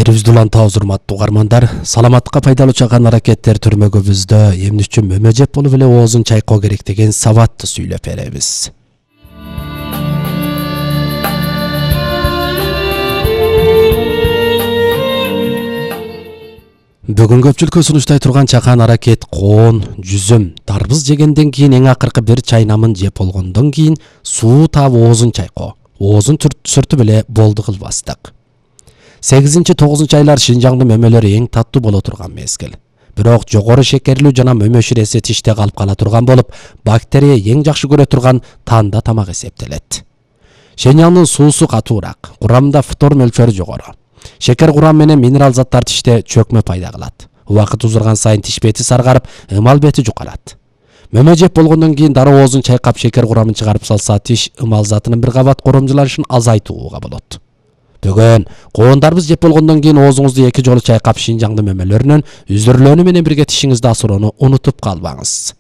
Берибизди улантабыз урматтуу угармандар. Саламаттыкка пайдалуу чакан аракеттер түрмөгүбүздө эмне үчүн мөмө жеп болуп эле оозун чайкоо керек деген сабатты сүйлөп беребиз. Бүгүн көпчүлүккө сунуштай турган чакан аракет коон, жүзүм, дарбыз жегенден кийин эң акыркы бир чайнамын жеп болгондон кийин суу таап оозун чайкоо. Оозун сүртүп эле болду кылбастык. 8-9 айлар Шинжаңдын мөмөлөрү эң таттуу боло турган мезгил. Бирок жогору шекерлүү жана мөмө ширеси тиште калып кала турган болуп, бактерия эң жакшы көрө турган танда тамак эсептелет. Шинжаңдын суусу катуураак, курамында фтор мөлчөрү жогору. Шекер курам менен минерал заттар тиште чөкмө пайда кылат. Убакыт узурган сайын тиш бети саргарып, ымал бети жукалат. Мөмө жеп болгондон кийин дароо оозун чайкап шекер курамын чыгарып салса, тиш ымал затынын бир кабат коромжуланышын азайтууга болот. Бүгүн коон дарбыз жеп болгондон кийин оозуңузду 2 жолу чайкап Шинжаңдын мөмөлөрүнөн үзүрлөөнү менен бирге тишиңизди асыроону унутуп калбаңыз.